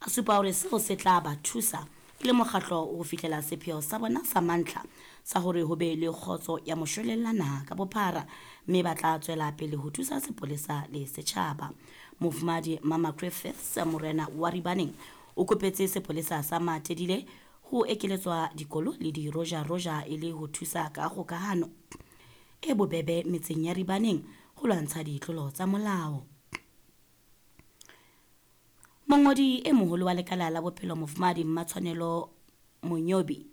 A supa hore seo se tla ba thusa e le mokgatlo ho fihlela sepheo sa bona sa mantlha sa hore ho be le kgotso ya moshwelella naha ka bophara, mme ba tla tswela pele ho thusa sepolesa le setjhaba. Mofumahadi Mama Griffiths, morena wa Ribaneng, o kopetse sepolesa sa Matedile ho ekeletswa dikolo le dirojaroja e le ho thusa ka kgokahano e bobebe metseng ya Ribaneng ho lwantsha ditlolo tsa molao. Mongodi e moholo wa lekala la bophelo Mofumahadi Mmatshwanelo Monyobi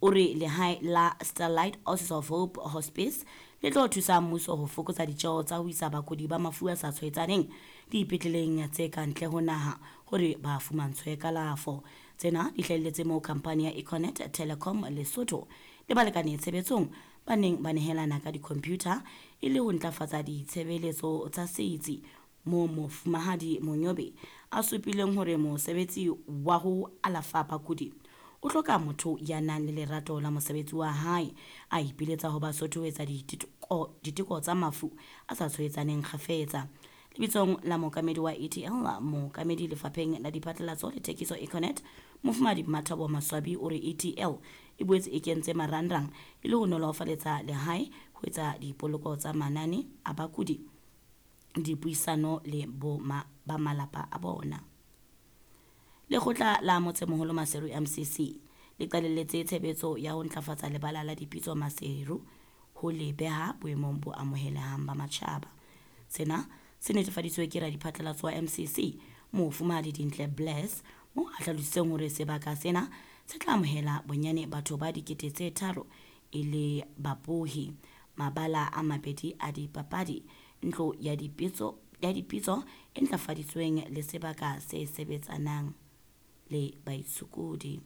o re lehae la Starlight Oasis of Hope Hospice le tlo thusa mmuso ho fokotsa ditjeo tsa ho isa bakudi ba mafu a sa tshwaetsaneng dipetleleng tse ka ntle ho naha hore ba fumantshwe kalafo. Tsena di hlahelletse moo khampani ya Econet Telecom Lesotho le balekane tshebetsong ba neng ba nehelana ka di-computer e le ho ntlafatsa ditshebeletso tsa setsi, moo Mofumahadi Monyobe a supileng hore mosebetsi wa ho alafa bakudi o hloka motho ya nang le lerato la mosebetsi wa hae. A ipiletsa ho Basotho ho etsa diteko tsa mafu a sa tshwaetsaneng kgafetsa. Lebitsong la mookamedi wa ETL, mookamedi lefapheng la diphatlalatso le thekiso Econet, Mofumahadi Mmathabo Maswabi o re ETL e boetse e kentse marangrang e le ho nolofaletsa lehae ho etsa dipoloko tsa manane a bakudi, dipuisano le ba malapa a bona. Lekgotla la Motsemoholo Maseru MCC le qalelletse tshebetso ya ho ntlafatsa lebala la dipitso Maseru ho le beha boemong bo amohelehang ba matjhaba. Sena se netefaditswe ke radiphatlalatso wa MCC Mofumahadi Dintle Bless, moo a hlalositseng hore sebaka sena se tla amohela bonyane batho ba 3 000 e le babohi, mabala a mabedi a dipapadi, ntlo ya dipitso e ntlafaditsweng le sebaka se sebetsanang le baitshokodi.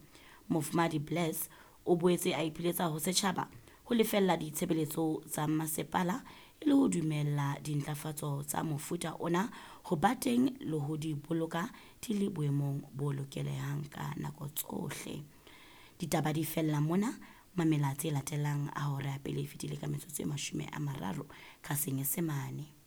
Mofumahadi Bless o boetse a ipiletsa ho setjhaba ho lefella ditshebeletso tsa masepala e le ho dumella dintlafatso tsa mofuta ona ho ba teng le ho di boloka di le boemong bo lokelehang ka nako tsohle. Ditaba di fella mona, mamela tse latelang a hora ya pele e fetile ka metsotso e 30 ka Senyesemane.